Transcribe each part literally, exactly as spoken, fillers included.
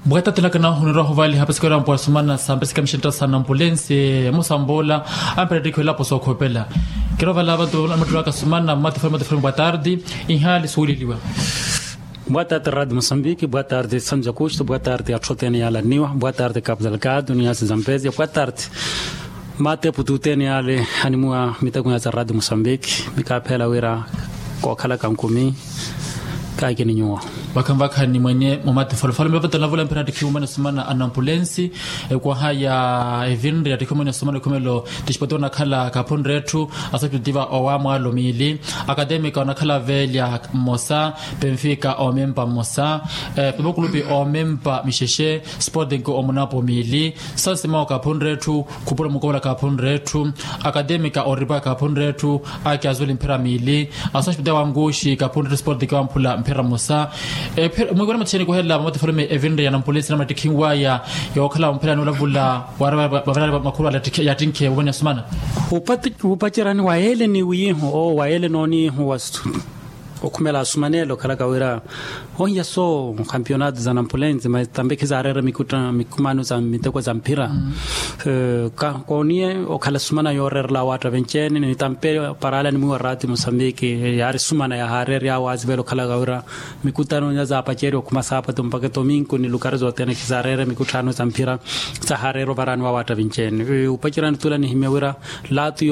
Bwatatilaka na hunira huvaliha pasikera mpwa sumana sa mpesika mishenta sa nampulensi. Musambola ampera tikho elapo sookhopela. Kirovala vantu amatulaka sumana matifola matifola bwa tardi. Inhali suwililiwa. Bwa tardi radi mosambiki bwa tardi santu jakusto bwa tardi athote ni yalaniwa bwa tardi kapu delgado ni yasi zampezia bwa tardi. Mate pututeni ale animuwa miteko ya za radio mosambiki mikaphela wira kokhala kankumi. Kakini nyuwa. Vakhanvakhani mwenye mumati folofolo mivavatana vula mpira tikhiumene sumana anampulensi. Ekwaha ya evinri ya tikhiumene sumana ekhumelo. Tixipoti onakhala kaphunre etthu asopititiva owamwalo miili akademika onakhala velya mmosa. Penfika omempa mmosa. Pepokulupi omempa mixexe. Sporting omunapo miili. Sansima okaphunre etthu. Khupula mukovola kaphunre etthu. Akademika oripa kaphunre etthu. Aki azuli mphira miili. Asospita wankuxi kaphunre etthu sporting wamphula mphira mmosa. Mwiwene mutixeni kuhela vamoti fulume evinre ya nampulensi namuna tikhinwaya. Yookhala mphira ni olavula wari vavirari makhulu yattinkhe wuvene asumana. Upacerani wa ele ni wiihu o wa ele nooniihu wa okhumela asumanela okhalaka wira ohiya so kampionato za nampulensi mas tambi khizaareera mikumaano za miteko za mphira. Kooniye okhala sumana yooreerela awaatta venci-ene ni tambi paraala ni mwiwa raati mosambiki yaari sumana yahaareerya awo azivela okhalaka wira mikutano nya zaapaceriwa okhuma saapatu mpaka tominku ni lukari zothene khizaareerya mikutano za mphira. Sahaareerya ovaraani wa awaatta venci-ene. Upacerani tula nihimya wira laatu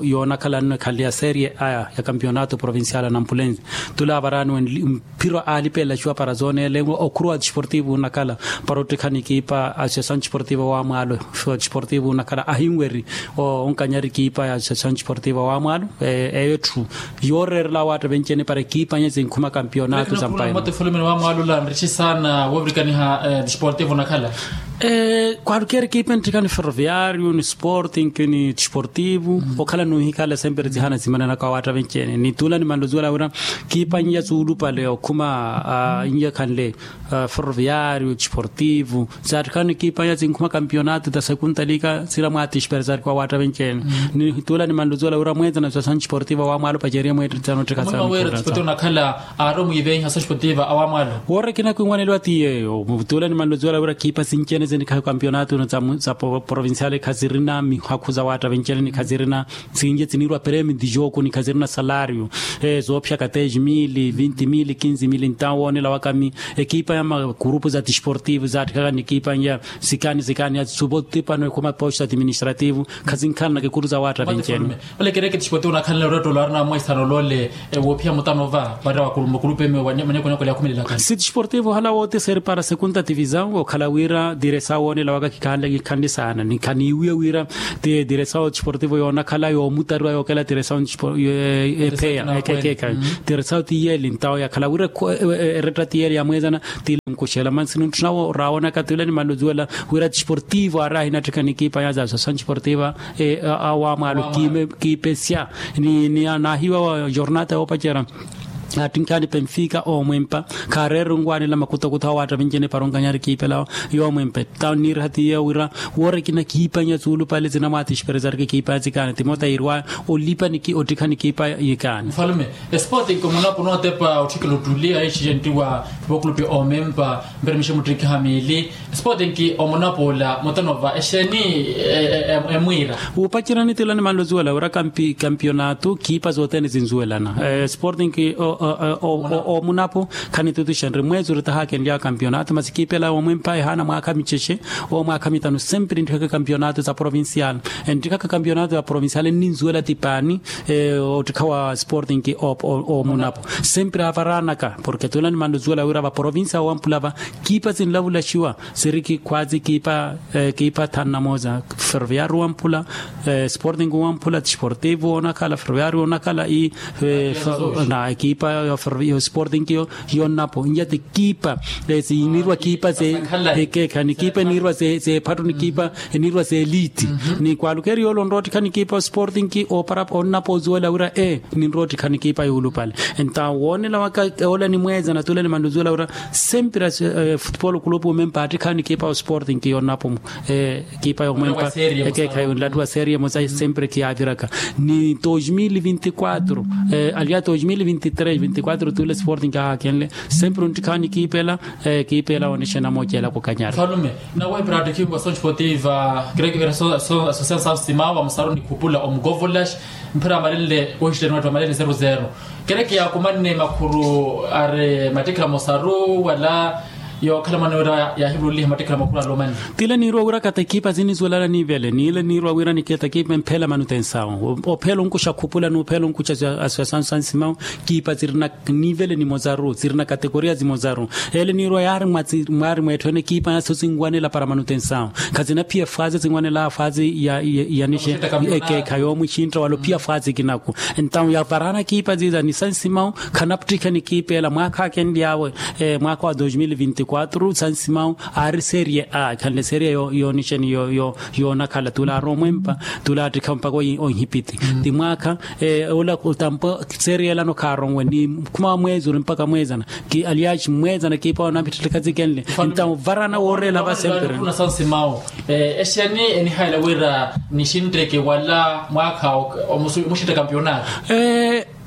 yoonakhala nno ekhale ya serie a ya kampionato provincial a nampulensi. Tula avaraani wenli mphiro aalipelela ciwa para zooneelenwa okhuru wa desportivo onakhala para ottikhana ekipa associação desportiva wa mwaalo. Desportivo onakhala ahinweri onkanyari ekipa ya associação desportiva wa mwaalo. Eyo etthu yooreerela awaatta venci-ene para ekipa nye zinkhuma kampionato za mpayi. Mmote fulumini wa mwaalo ola nrici saana woovirikaniha desportivo onakhala. Kwaalukeeri ekipa enttikhani ferroviario ni sporting ni desportivo okhala nuhikhala sempre zihana zimananaka awaatta venci-ene ni tula nimanluzuwela wira kiipa n'iya suulupale okhuma n'iya khanle ferroviario desportivo zaattikhani kiipa n'iya zinkhuma kampionato ta sekunta lika sila mwaatixpera zaattikha awaatta venci-ene. Ni tula nimanluzuwela wira mweezana associação desportiva wa mwaalo paceriye mweettikhana ottikha saana. Woorekina kwinwaneliwa ti yeeyo tula nimanluzuwela wira kiipa sinci-ene zinikhayo kampionato za provincial khazirina mihakhu za awaatta venci-ene ni khazirina sinci-ene ziniirwa premio dijoko ni khazirina salario. Zoophiyaka dez mil vinti mil kinzi mil ntawo woonela wakami ekipa ya makurupu za desportivo zaattikhaka ni ekipa ya sikani sikani ya supotipano ekhuma posto administrativo khazinkhananaka ekuru za awaatta venci-ene. Ole kereke desportivo onakhanle orettolo arina mweesano lole. Woophiya mutano va varira wa makulupe meewa manyakonyakola yakhumelelakani si desportivo ohala wooti seri para sekunta tivisao okhala wira diresawo woonela waka kikhanle kikhanle saana ni khaniiwiya wira ti diresawo desportivo yoonakhala yoomutariwa yookela diresawo. Epheya ekeekhayi diresawo ti yeeli ntawo yakhala wira eretta ti yeeli ya mweezana ti ile nkuxela mansi nintthuna raawonaka ti ule nimanluzuwela wira desportivo aari ahinattikha ni ekipa ya za associação desportiva wa mwaalo kiipesya ni naahiwa wa jornata yoopacerya. Attinkhani penfika oomwempa khaareere onwanela makutakutha awaatta venci-ene para onkanyari kiipelawo. Yoomwempa etawo nniiriha ti yeeyo wira woorekina kiipa n'iya suulupale zinamwaatixperezarika ekiipa ya zikaani timota yiiriwaya olipa ni ottikha ni kiipa yikaani. Mfalume esporting omunapo nootepa otthikela ottuli ayixixe ntiwa. Vokulupi oomempa mperemixe muttikha miili. Sporting omunapoola mutanova exeeni emwiira. Wuupacerani tila nimanluzuwela wira kampionato kiipa zothene zinzuwelana. Sporting omunapo khanitutuxa nri mweezi oritahakenlyaka kampionato masi kiipa ela yoomwempa ehaana mwaakha micexe owo mwaakha mitano sempre enttikhaka kampionato za provincial. Enttikhaka kampionato za provincial nninzuwela ti paani. Ottikha wa sporting omunapo sempre avaraanaka porke tula nimanluzuwela wira va provincia woowampula va kiipa sinlavulaxiwa sirikhi khwaazi kiipa kiipa thanu na mooza ferroviario wamphula sporting wamphula desportivo onakhala ferroviario onakhala i na kiipa yo sporting yo yonnapo nja ti kiipa sinirwa kiipa se ekeekha ni kiipa enirwa se ephattu ni kiipa enirwa se eliti ni kwalukeri yoole onroottikha ni kiipa sporting opara onnapo ozuwela wira e ninroottikha ni kiipa yuulupale. Entawo woonela waka ola ni mweeza na tula ni manluzuwela wira sempre futupolo kulupu omempa attikha ni kiipa osporting yonnapo ekipa yomwempa ekeekhayi onlattuwa serie emosa sempre kiyaaviraka ni dos mil vinti quatro aliya dos mil vinti tres. Vinti quatro tule sporting kahaakenle. Sempre onttikhaani kiipela. Kiipela onixena mooceela kukanyara. Falume, nawe pratikhiwa sonci potiva. Creekivira so so asosian sansimawa musaruni khupula omukovolax. Mphira amalenle ohistenuwettu amalenle zero zero. Kereke yaakumanne makhuru ari mattikhala mosaru wala? Yookhala mwana wira yaahivuruliha mattikhala makhuru alomanne. Tile niiruwa wira kata ekipa zinizuwelana nivele nile niiruwa wira niketa ekipa emphela manutensawo ophela onkuxa khupula n'uphela onkuxa asosian sansimawa. Kiipa zirina nivele nimozaru zirina katekoria zimozaru. Ele niiruwa yaari mwaari mweetthwene kiipa yaso zinwanela para manutensawo. Khazinaphiya faazi zinwanela faazi yanixe. Ekeekha yoomwixintta wala ophiya faazi kinaku. Entawu yavarana kiipa ziza ni sansimawu. Khanapttikhe ni kiipa ela mwaakha akenly'awe mwaakha wa dos mil vinti quatro sansimawu. Aari serie a ekhanle serie yoonixeni yoonakhala tula aari omwempa. Tula attikha mpakha onhipiti ti mwaakha. Ula tampo serie elano khaaronwe ni khuma wa mweezi ori mpakha mweezana. Ki aliaxi mweezana kiipa onapitthilika zikenle. Entawu varana wooreela va sempre. Exeni enihayela wira nixintteke wala mwaakha omuxintte kampionato.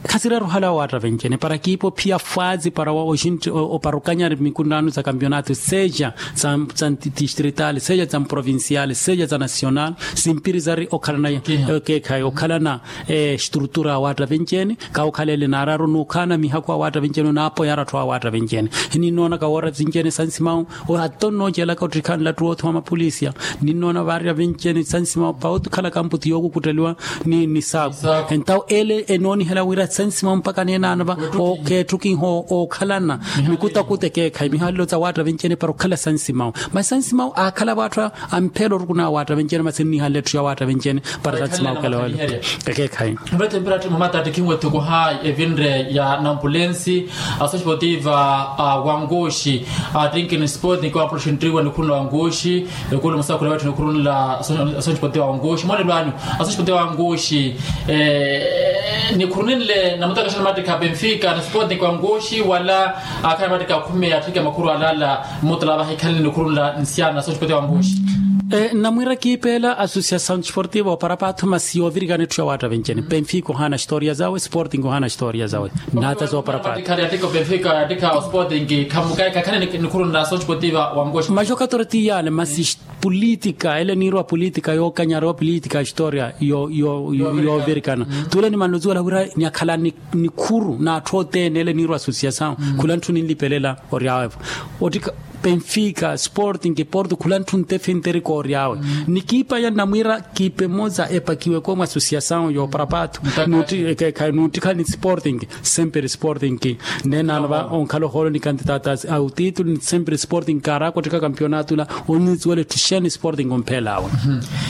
Khasireera ohala wa waatta vencene para kiipa ophiya faazi para wa oxintte opara okanyari mikunnaano za kampionato seja za ntistritali seja za mprovinciali seja za nasionali. Simpiri zari okhalana ekeekhayi okhalana estrutura ya waatta vencene. Kaha okhala ele naararu n'ukhaana mihaku awaatta vencene onaapoyara atthu awaatta vencene. Hininnoona kawoora vencene sansimawu. Ato nnoocelaka ottikhanla atthu oothiwa mapolisia. Ninnoona vaarya vencene sansimawu pawooti okhalaka mputi yookukutteliwa ni saaku. Entawu ele enoonihela wira sansimawu mpakha neenaana va okeettukiha ookhalana mikutakuta ekeekhayi mihalelo za waatta vencene para okhala sansimawu. Masi sansimawu aakhala vatthu amphela orukuna awaatta vencene masi nnihanle etthu ya waatta vencene. Para sansimawu okhala wale. Ekeekhayi. Mvetempera atti mamatta attikhinwe thukuha evinre ya nampulensi. Asosipotiva a wankuxi attinkini sport nikiwa ampuluxinttiwa nikhurunla wankuxi. Ekulu musakhula wetthu nikhurunla asosipotiva wankuxi monelwani. Asosipotiva wankuxi nikhurunle namutakaxana mattikha benfica na sport nikiwa wankuxi wala akhala mattikha khumi atthike makhuru alala. Mutula vahikhanle nikhurunla nsiana asosipotiva wankuxi. Namwira kiipeela asosiasawu sportiva opara paatho masi yoovirikana etthu ya waatta vencene penfika ohaana xitooriya zawe sporting ohaana xitooriya zawe. Nata zoopara paatho. Yattikha osporting khamukayi kakhane nikhurunna asosipotiva wankuxi. Maxokatora ti yaale masi politika ele niirwa politika yookanyara opolitika xitooriya yoovirikana. Tule nimanluziwela wira nyakhala nikhuru n'atthu othene ele niirwa asosiasawu. Khula ntthu ninlipelela oryawe-vo. Ottika penfika sporting porto khula ntthu ntefinterika ory'awe. Ni kiipa ya namwiira kiipa emosa epakiweke omwa asosiasawu yoopara paatho. Nuuttikhani sporting semperi sporting. Neenano va onkhala ohoolo ni kantitaata autitulu ni semperi sporting kaaraaka ottika kampionato ula. Onniziwela etthu xeeni sporting omphela awe.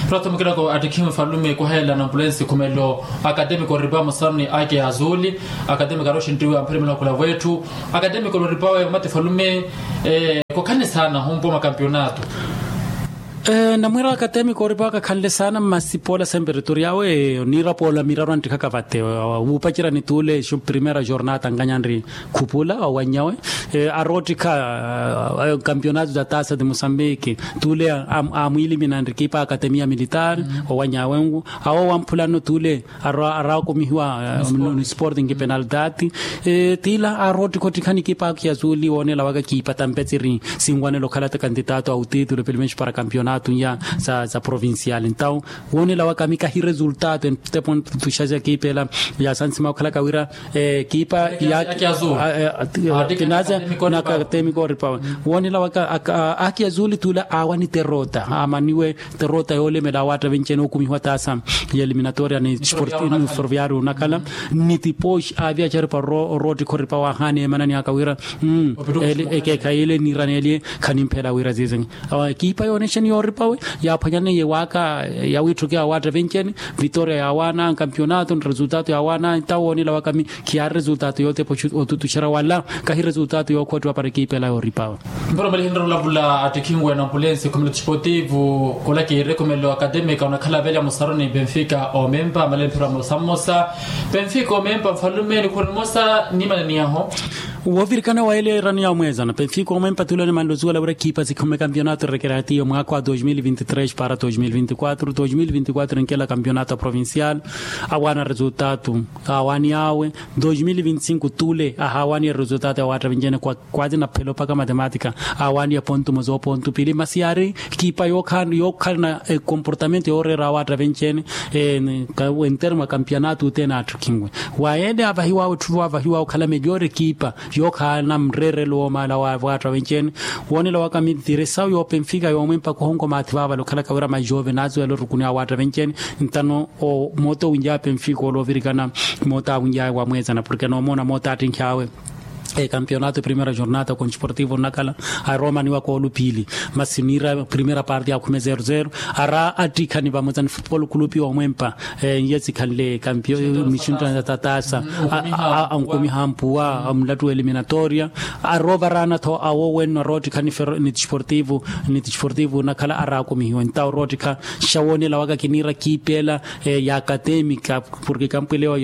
Proto mukiloko attikhiwe falume kuhela na ambulensi khumelo akademiko oripa musaruni ake azuli. Akademiko aroxintiwe amphela mulakula wetthu. Akademiko loripawe mati falume. Kokhani saana humpo makampionato. Namwiira akademiko oripawe kakhanle saana mmasipoola semperitori awe niira poola miraru anttikhaka vate. Wuupacerya ni tuule primera jornata ankanyanri khupula owanyawe. Aroottikha kampionato za tasa de mosambiki tuule amwiilimina nrikipa akademia militar. Owanyawenku awo wamphulano tuule araakumihiwa ni sporting penaltati. Tiila aroottikha ottikhani kipa akiya zuuli woonela waka kiipa tampetsiri sinwanela okhala ta kantitato a utitulu pelo menos para kampionato ya za provincial entawu woonela waka ami kahi resultato entepo ntuxaxa kiipela. Yasansimawa okhalaka wira kiipa ya tinaza na akademiko oripawe. Woonela waka akiya zuuli tuula aawani terota aamaniwe terota yoolemela awaatta venci-ene okumihiwa taasa ya eliminatoria ni ferroviario onakhala ni tipoxi aaviya acaripa oroottikha oripawe ahaana emanani aka wira ekeekhayi ele niiraneelye. Khanimphela wira ziizingi ekiipa yoonexeni yooripawe yaaphwanyaneiye waaka yawiitthukiwa awaatta venci-ene. Vitoria yaawaana kampionato ni resultato yaawaana entawo woonela waka ami khiyaari resultato yootepa otutuxerya wala kahi resultato yookhottiwa para ekiipa ela yooripawe. Mpero malihinre olavula attikhinwe na ambulensi khumelo tixipotivu khula kiire khumelo akademika onakhala velya musaruni benfika omempa malelo mphero mmosa mmosa. Benfika omempa mfalume nikhuri mmosa nimananiyaho. Woovirikana wa ele erano ya omweezana penfiko omwe mpatuloni manlozuwela wira ekipa sikhume kampionato rekeratiyo mwaakha wa dos mil vinti tres para dos mil vinti kwatro dos mil vinti kwatro enkela kampionato provincial. Awaana resultatu awaani awe. Dos mil vinti sinku tule ahawaaniye resultatu ya waatta vinjene kwa kwati na phelo paka matematika. Awaaniye pontu mozo pontu pili masi yaari ekipa yookhala na ekomportamento yooreera awaatta vinjene. Entermo a kampionato othene atthukhinwe. Wa ele avahiwawe otthuva avahiwawe okhala melhor ekipa yookhala na mreerelo woomaala wa waatta vinjene. Woonela waka mitiri esawu yoopemfika yoomwempa kuhonko maathi vaavale okhalaka wira majove naasuwela orukuni awaatta vinjene. Ntano mooto winjaya penfiko oloovirikana mooto awinjaya wamweesana porke noomoona mooto attinkhi awe. Ekampionato primera jornada kontiportivo nnakhala aromaniwa koolu piili masi niira primera parte akhume zero zero. Ara attikhani vamwesani futupolo kulupi omwempa. N'iye sikhanle kampiyo mixinto ya tataasa ankumiha ampuwa amulattu eliminatoria. Aroovaraana-tho awo wenno aroottikha ni tisportivo ni tisportivo nakhala araakumihiwe ntawo roottikha. Xawoonela waka kiniira kiipeela ya akatemika porke kampwelewa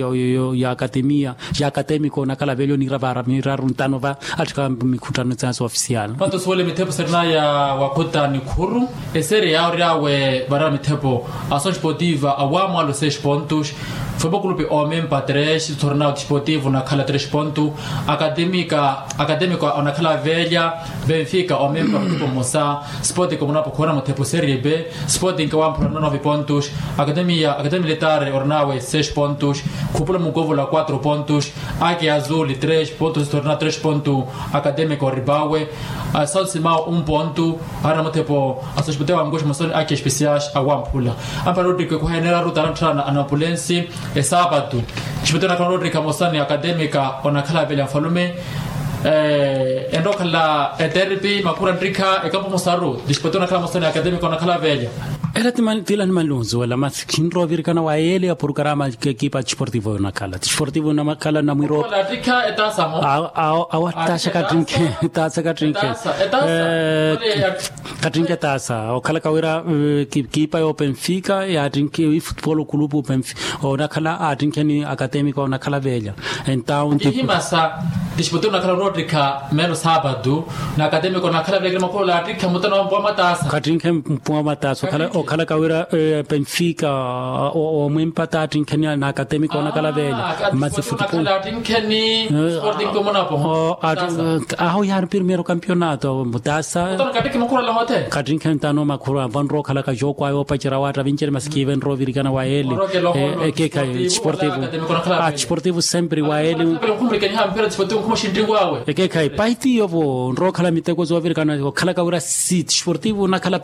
ya akatemia ya akatemika onakhala velyo niira vaara miraru ntano va attikha mikhuttano tsaansi ofisial. Panto suwele mithepo serinaya wakhuta nikhuru eseri yaawo ryawe varara mithepo. Asosi potiva awaamwalo seis pontos. Fombo kulupi omempa tres tornao tisportivo nakhala tres ponto. Akatemika akatemika onakhala velya benfica omempa muthepo mmosa. Sporting omunapo khuwana muthepo serie b. Sporting wamphula nove pontos. Akatemia akatemia letare ornawe seis pontos. Khupula mukovola quatro pontos. Aki azuli tres pontos tornao tres ponto. Akatemika oribawe asasimao un ponto. Arina muthepo asospite wanguxi mosoni aki especiais awamphula. Ampara ottike khuhenera ruta anatthana anapulensi. Esapatu. Especial nakhala ottike mosoni akatemika onakhala velya mfalume. Enrookhala eterpi makhura nttikha ekampu mosaru dispoti onakhala mosoni akatemika onakhala velya. Ela tila ni malunzu wala masi khinrovirikana wa ele ya porkarama ekipa tisportivo yonakhala tisportivo namakhala namwiro. Awo ataasa kattinkhe taasa kattinkhe. Kattinkhe taasa okhalaka wira ekipa yo penfika yaattinkhe ifutupolo kulupu penfika onakhala aattinkheni akatemika onakhala velya. Entawo ntihimasa tisportivo onakhala roottikha meelo sapatu. Na akatemika onakhala velya kila makhula olattikha mutano mpuwa mataasa. Kattinkhe mpuwa mataasa okhalaka wira penfika omwempa taattinkheni na akatemika onakhala velya. Masi futupolo. Aho yaari primero kampionato mutaasa. Kattinkhe ntano makhura vanrookhalaka jooko ayo opacerya waatta vinjeri masi kiive nroovirikana wa ele. Ekekhayi tisportivo. Tisportivo sempre wa ele. Ekekhayi paitiyo vo nrookhala miteko zoovirikana okhalaka wira si tisportivo onakhala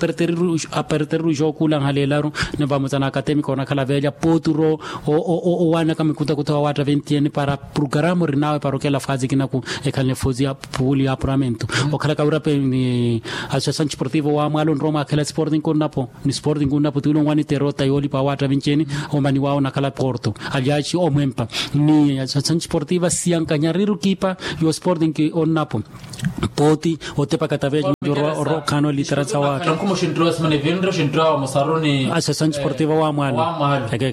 aperteriru jookulanha leelaru. Ni vamutsa na akatemika onakhala velya poturo owaanaka mikutakutha wa waatta ventiyeni para programa orinawe para okela faazi kinaku. Ekhaline foozi ya puuli ya apuramento okhalaka wira pe ni associação desportivo wa mwalo nrowa mwakhela sporting onnapo ni sporting onnapo tuwile onwani terota yoolipa wa waatta vinci-eni. Omani wawo onakhala porto alyaci omwempa ni associação desportiva siyankanyariru kiipa yo sporting onnapo. Pooti otepa kataveya cinjorwa orokhaana olitera sa waatta. Associação desportiva wa mwalo.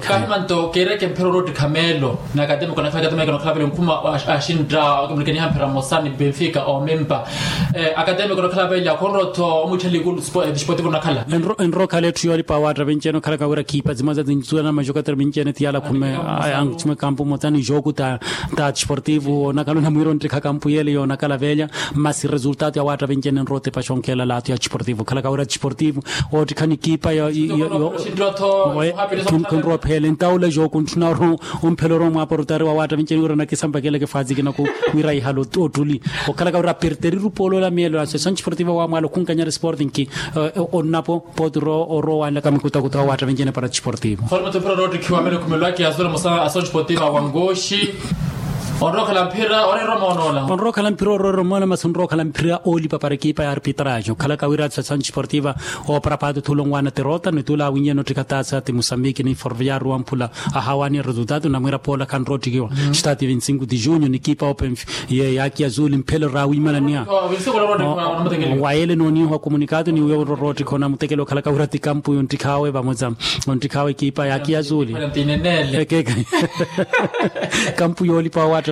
Kahimanto keereke mphira oroottikha meelo na akatemiko nakhala akatemiko nakhala vale nkhuma axintta okamlikaniha mphira mmosa ni benfica omempa. Akatemiko nakhala vale akhonrowa-tho omwittha likulu desportivo nakhala. Enrookhala etthu yoolipa waatta vinci-eni okhalaka wira khiipa zimwaza zinzula na majokatero vinci-eni tiyala khume. Ankhutximwe kampu mmosa ni joku ta ta desportivo onakhala onamwiira onttikha kampu yeele yoonakhala velya. Masi resultado ya waatta vinci-eni enrowa otepa xonkhela lato ya desportivo okhalaka wira desportivo oottikha ni kiipa yo yo yo. Khunrowa opheele ntawula joku ntthuna oro omphela orowa omwaapa orutari wa waatta vinci-eni wira onakisampakeleke faazi kinaku wira ihale ottuli. Okhalaka wira aperteriru poolola meelo associação desportiva wa mwalo khunkanyari sporting ki onnapo. Poturo orowanlaka mikutakuta wa waatta vinci-eni para desportivo. Onrowa okhala mphira oreera omoonola. Onrowa okhala mphira oreera omoona masi onrowa okhala mphira oolipa para ekipa ya arbitrage okhalaka wira associação desportiva. Opara paati othula onwaana terota ni tuula awinyeni ottikha taasa ti musambiki ni forviaru wamphula. Ahawaani resultado namwiira poola khanrowa ottikiwa. Stati vinti sinku ti junho ni ekipa open. Ye yaaki azuli mphelo raawimananiha. Wa ele nooniiha komunikato ni wiya ororoottikha onamutekela okhalaka wira ti kampu yonttikhawe vamoza. Ontikhawe ekipa yaaki azuli. Ekeka. Kampu yoolipa wa waatta.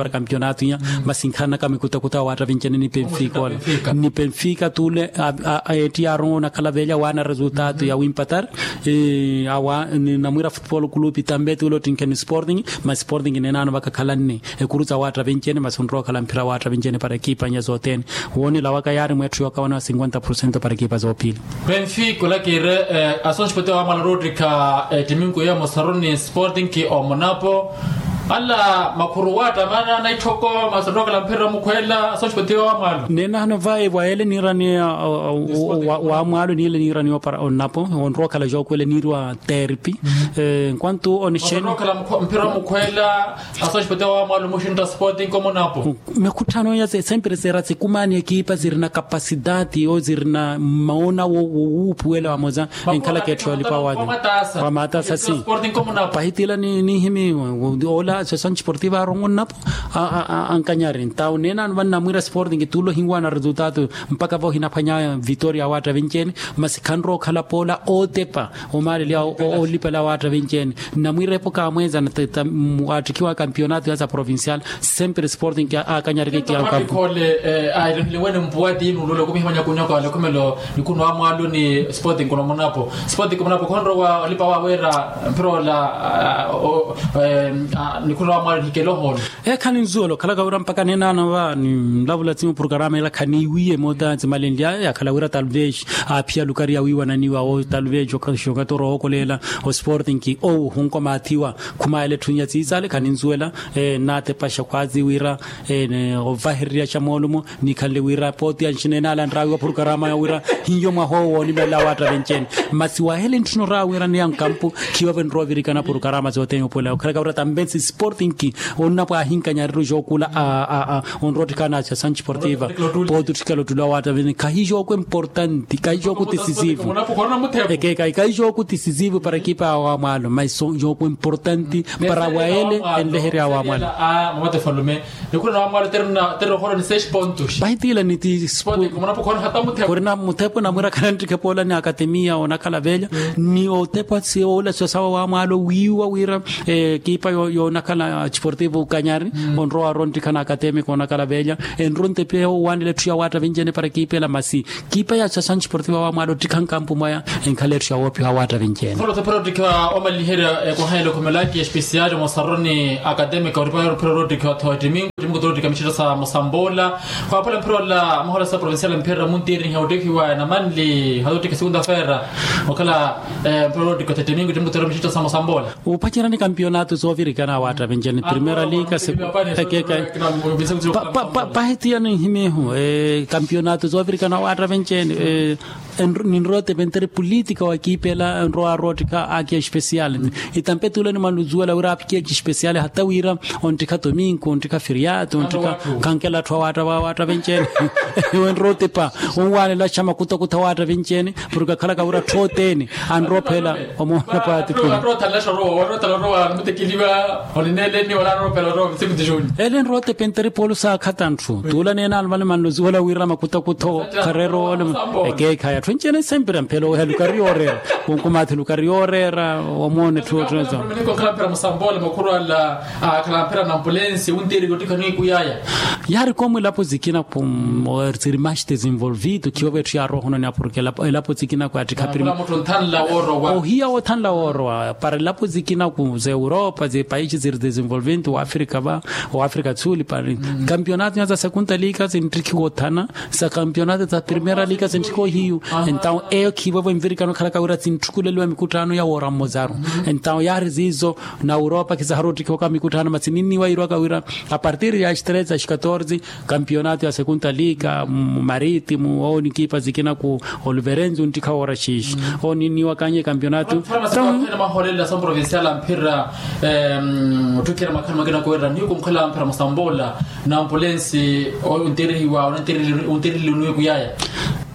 para kampionato iya. Masi nkhanaka mikutakuta wa waatta vincene ni penfika ola. Ni penfika tule etti yaarongo onakhala velya waana resultato ya wimpatar. Awa ni namwira futpolo kulupi tambe tule ottinkheni sporting. Masi sporting nenaano vakakhalanne ekuru sa waatta vincene masi onrowa okhala mphira waatta vincene para ekipa nya zothene. Woonela waka yaari mwetthu yookawana wa cinquenta porcento para ekipa zoophili. Penfika olakiire asonspoti wa mala rootikha ettiminku ya mosaruni sporting ki omonapo. Ala makhuru waattamana na itthoko masi onrowa okhala mphira mukhweela asonspoti wa mala. Nenaano vayi vwa ele niirani wa mwaalo niile niirani opara onapo onrowa okhala jookwele niiriwa terpi. Nkwantu onexeni mphira mukhweela. Aso axipete wa mwaalo muxintta sporting komonapo. Mikhutthano ya sempre sera sikumaani ekipa sirina kapasidati o sirina maona wowuupuwela wamosa. Enkhalaka etthu yolipa wa matasa si pahitila ninhimi ola associação desportiva arongo nnapo. Ankanyari ntawo neenano vannamwira sporting tulo hinwaana resultado. Mpakha vohinaphwanya vitoria awaatta vinci-ene masi khanrowa okhala poola ootepa omaaleliha olipela awaatta vinci-ene. Namwiira epoka amweeza attikhiwa kampionato ya sa provincial sempre sporting akanyarike kiyankhapu. Airehile wene mpuwa tiinu lule kumiha manya kunyoko alekhumelo. Nikhunwa mwaalo ni sporting kunomonapo sporting kunomonapo khonrowa olipa waweera mphira ola. Nikhunwa mwaalo nihikele ohoolo. Ekhani nzuwela okhalaka wira mpakha neenano va ninlavula tsi muprokarama ela khaniiwiye moota tsimalenlya yakhala wira talvez aaphiya lukari ya wiiwananiwa wo talvez okatorookoleela osporting owo hunkomaathiwa. Khumaayela etthu nya tsiisaale khani nzuwela. Nnaatepaxa khwaazi wira ovahererya xa moolumo nikhanle wira pooti ya nxineenaala nraawiwa prokarama ya wira hiyo mwaha owo woonimelela awaatta venci-ene. Masi wahele ntthuna oraawiranneya nkampu khiwavo enrowa ovirikana prokarama sothene opuwela okhalaka wira tambensi sporting ki onnapo ahinkanyariru jookula onrowa ottikhana asya sanchi portiva. Pooti otthikala ottulu awaatta vene khahi jooko importanti khahi jooko tisisivu. Ekeekayi khahi jooko tisisivu para ekipa ya wamwaalo masi jooko importanti para wayele enleherya wamwaalo. Nikhuna na wamwaalo terina terina okholo ni seis pontos. Pahitiila ni ti khurina muthepo namwirakhala nttikhe poola ni akatemiya onakhala veelya ni otepa si oolasiwa sawa wamwaalo wiiwa wira ekipa yoonakhala chiportivo kanyari onrowa aro nttikha na akatemiya koonakhala veelya. Enro ntepe owanela etthu ya waatta vinci-ene para ekipa ela masi ekipa ya associação desportiva wamwaalo ottikha nkampu mwaya enkhala etthu ya woopiha waatta vinci-ene. Kholo tepera ottikha omaliherya ekwahayela okhomela ki especial mosaroni academica oripaya oripira orottikha otho etimingo etimingo torottikha mixetta sa mosamboola. Khwaapola mphira ola mahola sa provincial mphira muntiiriha ottikhiwa namanli hata ottikha segunda feira okhala mphira orottikha otho etimingo etimingo torottikha mixetta sa mosamboola. Upacerani kampionato soovirikana awaatta vinci-ene primera liga ekeekayi. Pahitiya ninhimihu kampionato soovirikana awaatta vinci-ene. Ninrowa otepa enteri polítika wa ekipa ela enrowa arottikha aki especial. Itampe tule nimanuzuwela wira apiki aki especial hata wira onttikha tominko onttikha firiato onttikha khankela atthu awaatta vawaatta vinci-ene. Enrowa otepa onwanelaxa makutakuta awaatta vinci-ene. Porke akhalaka wira atthu othene anrophela omoona paati. Ele enrowa otepa enteri poolu saakhata ntthu tuula neenano vale manluziwela wira makutakutho khareera oole. Ekeekhayi atthu enci-ene sempre amphela oweha lukari yooreera. Wonkumaathi lukari yooreera omoona etthu otthu. Okhala mphira musamboola makhuru ala akhala mphira na ambulensi wuntiiriki ottikha niikuyaya. Yaari komu elapo zikina ku siri maxi desenvolvido khiyovo etthu yaarohononi aporke elapo zikina ku attikha primera. Ohiya woothanla woorowa para elapo zikina ku za europa za paixi siri desenvolvido wa afrika va wa afrika tsuli para kampionato nya za sekunta liga zinttikhiwa othana, za kampionato za primera liga zinttikhiwa ohiyu. Entawo eyo khiivovo envirikano khalaka wira zinttukuleliwa mikutthano ya woora mmozaru. Entawo yaari ziizo na europa khizaharu ottikhiwaka mikutthano masi ninniwa yiirwaka wira apartir ya as treze as katorze kampionato ya sekunta liga mu maritimu owo nikipa zikina ku oluverenzi unttikha woora xiixi. Owo ninniwa kanye kampionato. Maholela somprovincial amphira otthukira makhani makina kuwerera nihiku mukhala amphira musambola na ampulensi. Onterehiwa onterehiwa onterehiwa onweku yaya.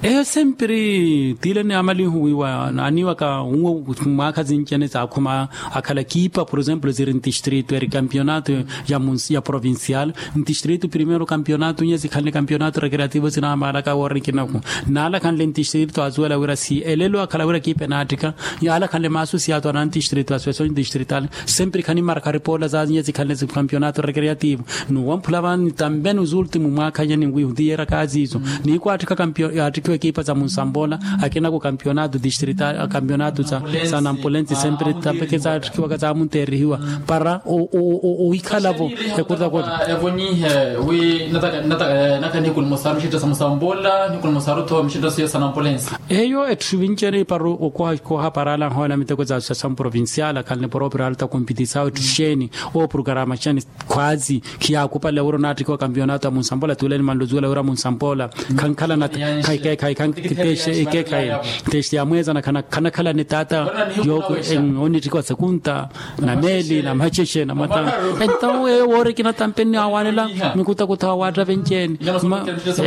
Eyo sempiri tile ni amalihu wiwa naaniwaka nwo mwaakha zinci ene zaakhuma akhala kiipa por exemplo ziri ntistrito eri kampionato ya provincial ntistrito primero kampionato nye zikhanle kampionato recreativo zinaamaalaka woorikinaku. Naalakhanle ntistrito azuwela wira si elelo akhala wira kiipa enaattika. Yaalakhanle maasu siyato ana ntistrito aswesoni ntistrital sempiri khanimaraka ripola za nye zikhanle kampionato recreativo. Nuwamphula vani tambe nuzultimu mwaakha nye ninwihu nti yeeraka aziizo. Nihiku aattikha kampio yaattikhiwa ekipa za munsambola akina ku kampionato distrital kampionato za nampulensi sempiri tambe kizaatthikiwaka zaamunteerihiwa para ohikhalavo. Ekurtakota evonyihe wi naka nihiku nimusaru mixitto sa musambula nihiku nimusaru tho mixitto siyo sa nampulensi. Eyo etthu vinci ene para okoha para alanhoona miteko za associação provincial akhanle proprio alta competição etthu xeeni oprokarama xeeni. Khwazi khiyaakupale wira onaattikiwa kampionato ya munsampola tuuleni manluzuwela wira munsampola khankhala na khaikekhayi khankiteshe ikekhayi. Teste ya mweeza na khanakhala ni taata yooko oniittikiwa sekunta na meeli na machexe na mata. Entawo eyo woorikina tampe nniawanela mikutakutha wa waatta venceeni.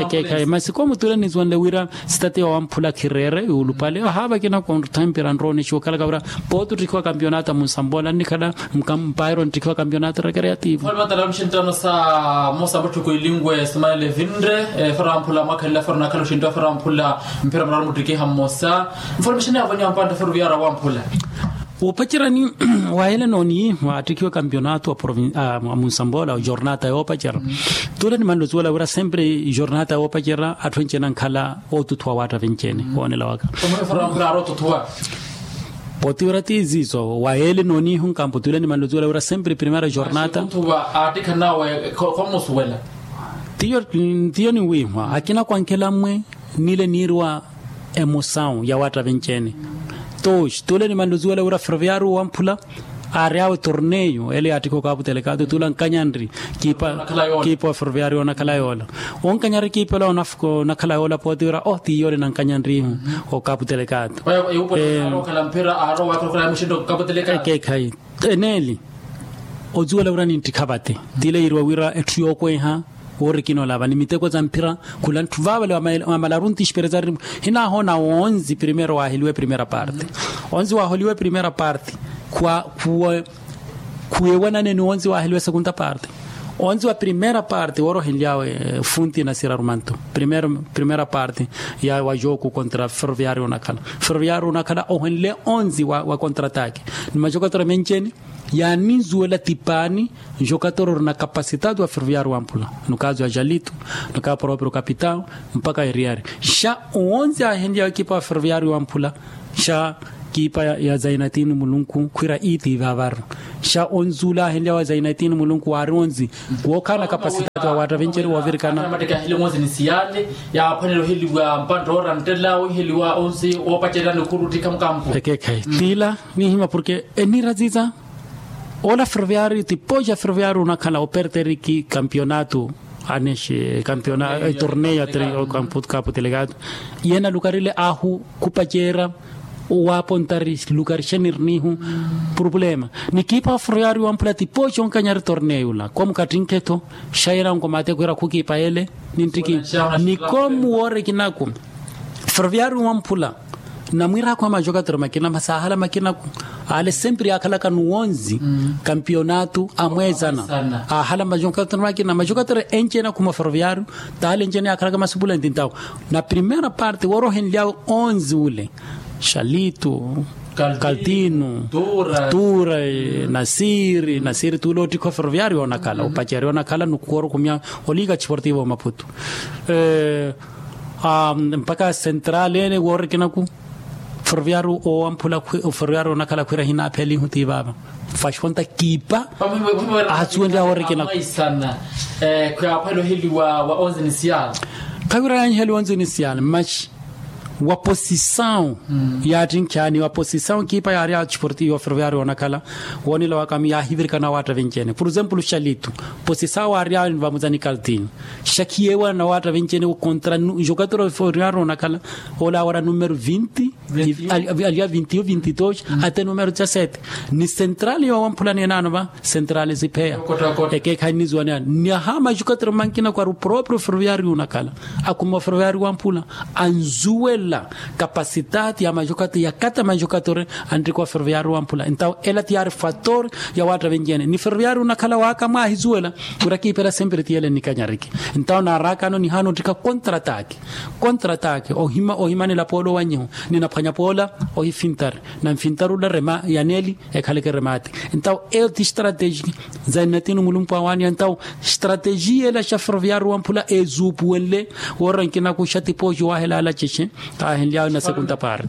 Ekekhayi masi koomutuule nizuwenle wira sitati ya wamphula khireere yuulupale ohaavakina konrutha mpira nroonixiwa okhalaka wira pooti otthikiwa kampionato a munsambola nnikhala mpairo ntthikiwa kampionato recreativo. Mfalme atala mxinttano sa mosa mutthukwilinwe simanele vinre fara wamphula mwakhalila fara nakhala oxintta fara wamphula mpira muraru muttikiha mmosa. Mfalme xinne yavonyeha mpantta fara oviyara wamphula. Wuupacerani wahele nooniyi waatthikiwe kampionato a munsambola jornata yoopacerana. Tuule nimanluzuwela wira sempre jornata yoopacerana atthu enceene ankhala ootuthuwa waatta venceene woonela waka. Pooti wira ti ziizo waheele nooniihu nkampo tuule nimanluzuwela wira sempre primera jornata. Aattikha nawe khomusuwela. Tiyo ninwiihwa akina kwankela mmwe nile niiriwa emosawu ya waatta venceene. Toxi tuule nimanluzuwela wira ferroviario wamphula aari awe torneio ele yaattikha okaputelekatu tuula nkanyanri kiipa wa ferroviario onakhala yoola. Onkanyari kiipela onakhala yoola pooti wira o ti yoole nankanyanrihu. Okaputelekatu. Ekekhayi eneeli ozuwela wira ninttikha vate tile yiiriwa wira etthu yookweha woorikina olava ni miteko za mphira. Khula ntthu vaavale wamalaru ntispereza hinahoona onzi primero waaheliwe primera parte. Onzi waaholiwe primera parte khuwewanane ni onzi waaheliwe segunda parte. Onzi wa primera parte woora ohenlyawe funti na sirarumanto primera parte ya wa joku kontra ferroviario onakhala ferroviario onakhala ohenle onzi wa kontra atake ni majokatora menceeni. Yaanizuwela tipaani jokatora orina kapasitatu wa ferroviario wamphula no kazo ya jalito no ka proprio kapitao mpaka eriari xa oonzi ahenlyawe ekipa wa ferroviario wamphula xa kiipa ya zainatini mulunku khwira iiti vaavaru. Xa onzi ula ahenlyawe zainatini mulunku waari onzi wookhala na kapasitati wa waatta venceeri woovirikana. Mateke aheliwe onzi ni siyale yaaphwanela oheliwa mpantta oora nttela oheliwa onzi woopacerya nikhuru ttikha mukampo. Ekekhayi tiila nihima porke eniira ziiza ola ferroviario tipoxa ferroviario onakhala operteriki kampionato anexe kampionato torneio ya kampionato kaputelekatu. Yena lukarile ahu khupaceera owaapontari lukari xenirinihu purupulema. Nikiipa wa ferroviario wamphula tipoxi onkanyari torneio ula komukattinkhe-tho xa yena onkomaate khwira khukiipa ele ninttiki nikomu woorikinaku. Ferroviario wamphula namwiiraakhu a majokatori makina masi aahala makinaku ale sempre yaakhalaka nuwonzi kampionato amweezana. Aahala majokatori makina majokatori enceene akhuma ferroviario taale enceene yaakhalaka masupula ntintawo na primera parte woorohenlyawe onzi ule xalitu Kaltinu, tura, nasiri nasiri tula ottikha oferoviario onakhala opacari onakhala nukukorukumya, oliga chiportivo omaputu. Mpaka central ene worikinaku, oferoviario owamphula oferoviario onakhala khwira hinaphelinhu ti vava. Fashonta kipa ahasuwenrya worikinaku. Khwira yanheliwa onzinisial mash wa posisawu, yaattinkhya ni wa posisawu kipa yaari ya chiportivo oferoviario onakhala. Woonela wakami yaahivirikana awaatta vinci-ene por exemplo xalitu, posisawu aari ya vamuza ni kaltini. Xakhiyeewa na awaatta vinci-ene okontra nxokatero oferoviario onakhala. Ola awara numero vinti, aliya vinti yo vinti dos, ate numero dezasete. Ni sentrali yowamphula neenano va sentrali sipheya. Ekeekhayi nnizuwaneyani ni aha maxokatero mankina kwari oproprio oferoviario onakhala. Akhuma oferoviario wamphula anzuwela kapasitati ya maxokatero yakata maxokatero. Anttiko oferoviario wamphula entawo ela ti yaari fator ya waatta vinci-ene ni oferoviario onakhala waka mwaahizuwela. Wira kiipela sempre ti yele nnikanyariki. Entawo naarakano nihaana ottikha kontra ataki, kontra ataki ohimanela poola owanyiho. Ninaphwanya poola ohifintari na nfintari ula rema ya neli ekhaleke remati. Entawo eyo ti strateji za nnatinu mulumpu awaaniha entawo strateji yela xa ferroviario wamphula ezuupuwenle. Woora nkinakuxa tipooxi waahela ala cexe. Kaahenly'awe na segunda parte.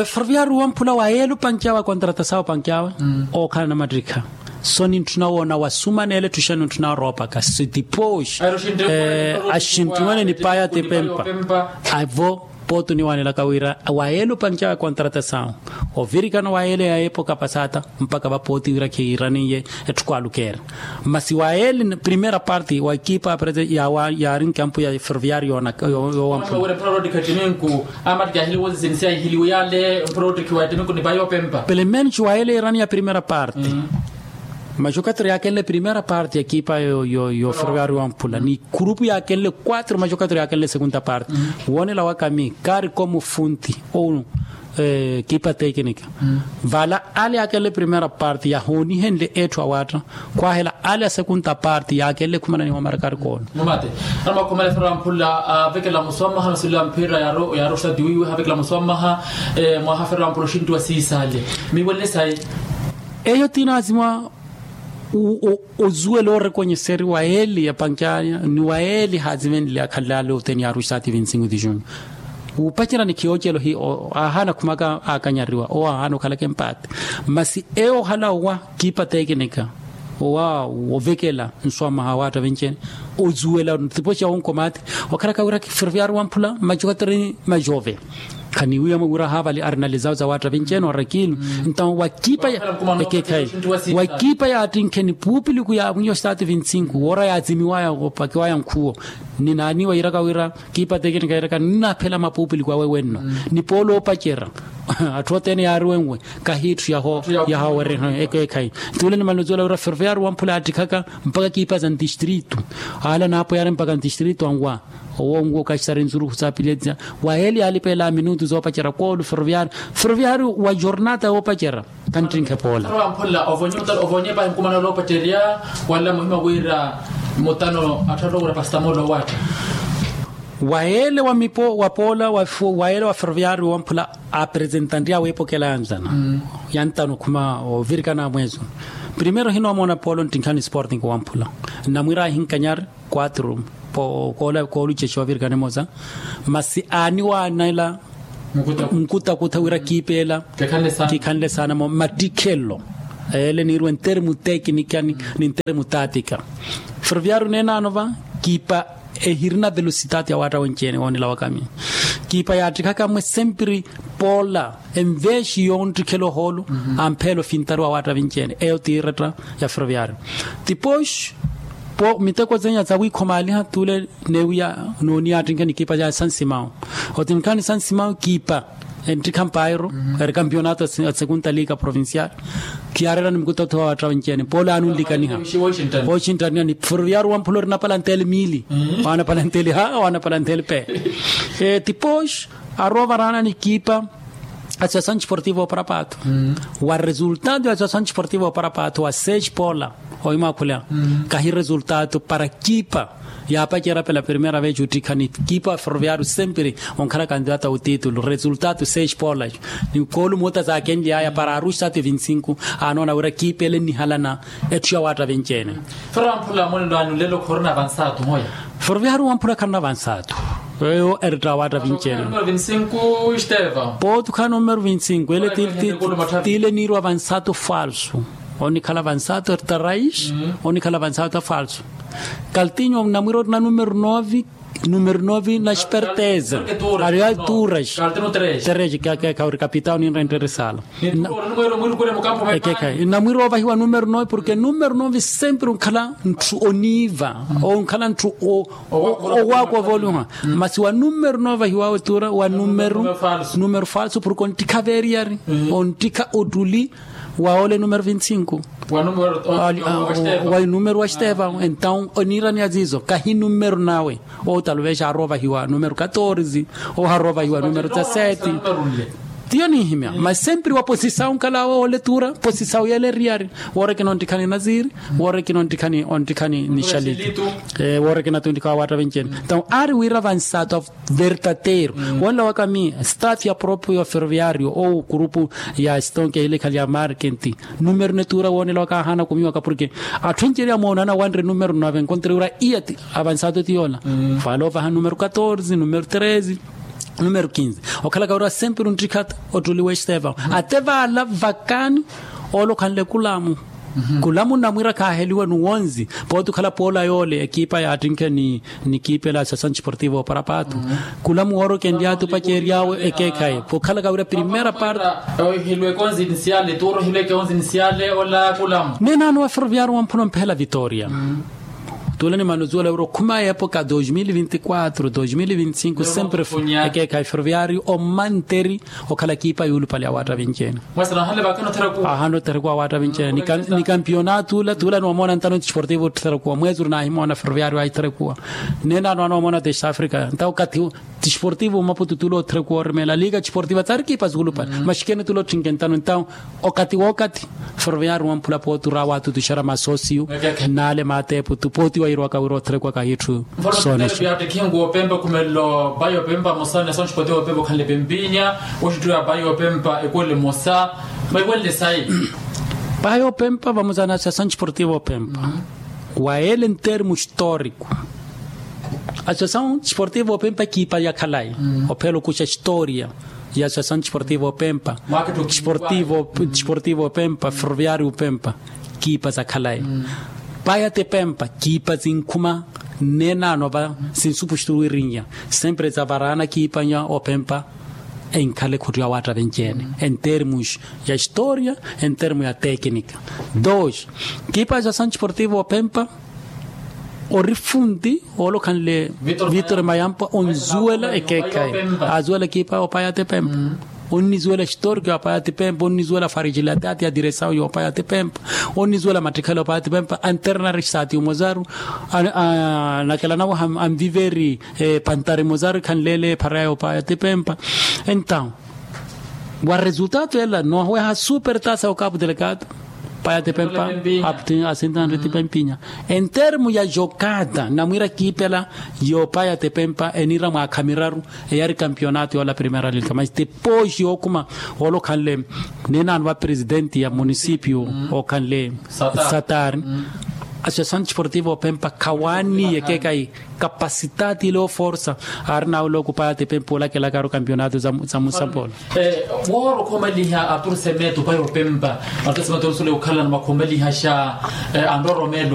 Ferroviario wamphula wayeela opanky'awe akontratasawe opanky'awe ookhala namattikha. So nintthuna woona wasumaneela etthu xa nintthuna oroopaka sitipooxi. Axinttiwene nipaya tipempa. Avo pooti oniwanelaka wira wayeela opanky'awe akontratasawe ovirikana wayeela ya epoka pasata mpaka vapooti wira khiiraniye. Etthu kwaalukeera masi wayeela primera parte wa ekipa ya prete yaari nkampu ya ferroviario yoowampula. Pelo menci wayeela erani ya primera parte. Maxokatero yaakenle primera parte ya ekipa yo ferroviario wamphula ni kurupu yaakenle quatro maxokatero yaakenle segunda parte. Woonela wakami kaari komu funti ou ekipa tekinika vala ale yaakenle primera parte yahoonihenle etthu awaatta. Khwaahela ale a segunda parte yaakenle khumananiwa marakari koona. Mumate. Anamwakhumela efero amphula avekela muswamaha masulela mphira yaaru ostatiwiwe havekela muswamaha. Mwaha fero amphula oxinttiwa siisaale miiwelele sayi. Eyo ti naazima ozuwela orekonyeseri wayeeli yapanky'aya ni wayeeli haazivenle akhalale oteni yaaru ostati vinti-sinku ti junyu. Wuupacerani khiyoocelo hi aahaana khumaka aakanyariwa owo aahaana okhalaka empaate. Masi eyo ohala owa kipa tekinika owa ovekela nswamaha awaatta vinci-ene ozuwela tipooxi ya onkomaati. Okhalaka wira ferroviario wamphula maxokatero ni maxove khaniwiya mwe wira haavali arinalizawo za waatta vinci-ene orakilu. Ntawo wa ekipa ya ekeekhayi wa ekipa yaattinkhe ni puupiliku ya mwiyo ostati vinti-sinku woora yaazimiwaya opakiwaya nkhuwo. Ninaaniwa yiiraka wira kipa tekinika yiiraka ninaphela mapuupiliku awe wenno ni polo opacera. Atthu othene yaariwenwe kahiitthu yaho yahawereha ekeekhayi. Tule nimaluzuwela wira ferroviario wamphula yaattikhaka mpaka kipa za ntistritu. Ala naapo yaari mpaka ntistritu anwa owo nwo kaxisari nsurukhu sa piletsa wayeeli yaalipeela minutu zoopacera koolu ferroviario ferroviario wa jornata yoopacera. Kanttinkhe poola. Ovonye pahi nkumana oloopacerya wala muhima wira mutano atthu atoowira pastamolo owaatta. Wayeele wa mipo wa poola wayeele wa ferroviario wamphula apresentante awe epokela yanzana yantano khuma ovirikana mwezo. Primero hinoomona polo nttinkhani sporting wamphula nnamwira ahinkanyari quatro koolucexa ovirikana emosa. Masi aaniwaanela nkutakutha wira kiipeela kikhanle saana mo mattikhelelo. Ele niiriwe ntermu tekinikani ni ntermu tatika ferroviario neenaano va kipa ehirina velositati ya waatta wenci-ene woonela wakami. Kipa yaattikhaka mwe sempiri poola enveexi yonttikhela ohoolu ampheela ofintari wa waatta vinci-ene eyo ti iretta ya ferroviario. Tipooxi miteko zenya za wiikhomaaliha tule neewiya nooniya attinkhe ni kipa ya sansimawu. Ottinkha ni sansimawu kipa enttikha mpairo eri kampionato a segunda liga provincial. Khiyaareerani mikuta othiwa waatta vinci-ene polo aanunlikaniha. Oxinttaniha ni ferroviario wamphula ori napala nteli miili waanapala nteli ha waanapala nteli pe. Tipooxi aroovaraana ni kipa Associação desportiva oparapato. Wa resultado ya associação desportiva oparapato wa seis pola, oimwakhula kahi resultado para kipa yaapacerya pela primeira vez ottikhani kipa ferroviário sempre onkhala candidata otitulu resultado seis pola. Ni koolu muta zaakenly'aya para aruxi sati vinti-sinku. Anoona wira kipa ele nnihalana etthu ya waatta vinci-ene. Ferroviário wamphula kharina vansaatu moya. Ferroviário wamphula kharina vansaatu. Eyo eretta waatta vinci-ene. Pootu khaana numero vinti-sinku ele tiile niirwa vansaatu falsu. Onikhala vansaatu eretta rais. Onikhala vansaatu falsu. Kaltinho namwira orina numero nove. Numero nove na esperteza. Ari alturas. Terezi khauri kapitao ninra interesala. Ekekhayi namwira ovahiwa numero nove porke numero nove sempre onkhala ntthu oniiva. Onkhala ntthu owaakwa ovoliha. Masi wa numero nove ahiwawe tura wa numero falso porke onttikha veriyari. Onttikha ottuli wa ole numero vinti-sinku. Wa numero wa xiteva entaw oniiraniya ziizo kahi numero nawe. Ou taluvexa arovahiwa numero katorze. Ou harovahiwa numero dezasete. Tiyo ninhimya mas sempre wa posisawu nkalawo ole tura posisawu yele eriyari. Woorekena onttikhani naziri. Woorekena onttikhani onttikhani nixalitu. Woorekena tunttikawa waatta vinci-ene. Entaw aari wira vansaatu a verdadeiro. Wonla waka mi staff ya proprio ya ferroviário ou kurupu ya stonke ehile khali ya markenti. Numero netura woonela waka ahaana kumiwaka porke atthu encerya moonana wanre numero nove encontre wira iya ti avansaatu ti yoola. Fala ovaha numero katorze numero treze. Numero kinze okhalaka wira sempre onttikha ottuli wa estevão. Ate vaala vakani oolokhanle kulamu. Kulamu namwira khaaheliwe nuwonzi. Pooti okhala poola yoole ekipa yaattinkhe ni ni kipa ela associação desportiva oparapato. Kulamu woorokenly'athi opacery'awe ekeekhayi pokhalaka wira primeira parte. Ohihiluweke onzinisiale tuuro ohiluweke onzinisiale ola kulamu. Neenano wa ferroviário wamphula omphela vitória. Tuula ni manuzuwela wira okhuma epoka dos mil vinti quatro dos mil vinti cinco sempre ekeekhayi ferroviário omanteri. Okhala kipa yuulupale ya waatta vinci-ene. Ahano otherekuwa waatta vinci-ene ni kampionatu ula tuula ni wamoona ntano tisportivo otherekuwa mwezi uri naahimoona ferroviário aitherekuwa. Neenano anoomona test africa nta okathi tisportivo maputu tuula otherekuwa orimeela liga tisportiva tsari kipa zuulupale maxikene tuula otthinke ntano entaw okathi wookathi. Ferroviário wamphula pooti ura waatutuxera masosiyu naale maateepu tu pooti wairwaka wira otherekuwa kahitthu. Soonexa yaattekhingu opempa okhumelelo payi opempa mosa ni associação desportiva opempa okhanle pempinya. Oxittuwa payi opempa ekuwele mosa maiwele sayi. Payi opempa vamosa ni associação desportiva opempa wa ele entermo histórico. Associação desportiva opempa kipa ya khalayi ophela okuxa história ya associação desportiva opempa. Desportivo opempa ferroviário opempa kipa za khalayi. Paya tepempa kipa zinkhuma. Neenano va sinsupuxituru wirinnya sempre za varaana kipa nya opempa. Enkhala ekhuttu ya waatta venci-ene en termos ya história en termos ya téknica. Dos kipa ya associação desportiva opempa ori funti oolokhanle vitor mayampa onzuwela ekeekhayi. Azuwela kipa opaya tepempa onnizuwela historiko ya opaya tepempa onnizuwela farigilataati ya diresawu ya opaya tepempa onnizuwela mattikhela opaya tepempa anternar sati umozaru. Nakela nawe anviveri pantari mozaru ekhanlele ephara ya opaya tepempa. Entaw wa resultado ela nooweha super tasa okapu delegado paya tepempa apti asintanre tepempinya. En termo ya jokada namwira kiipela yoopaya tepempa eniira mwaakha miraru eyari kampionato yoola primera liga mas depois yookhuma woolokhanle neenano va presidente ya munisipio ookhanle satari. Associação desportiva opempa khawaaniye keekayi kapasitati ile oforsa aari nawe lookupaya tepempa olakelakaru kampionato za musampolo. Wooro okhomaliha atursemeto paya opempa atursemeto orusuleya okhalana makhomalihasha anroromelo.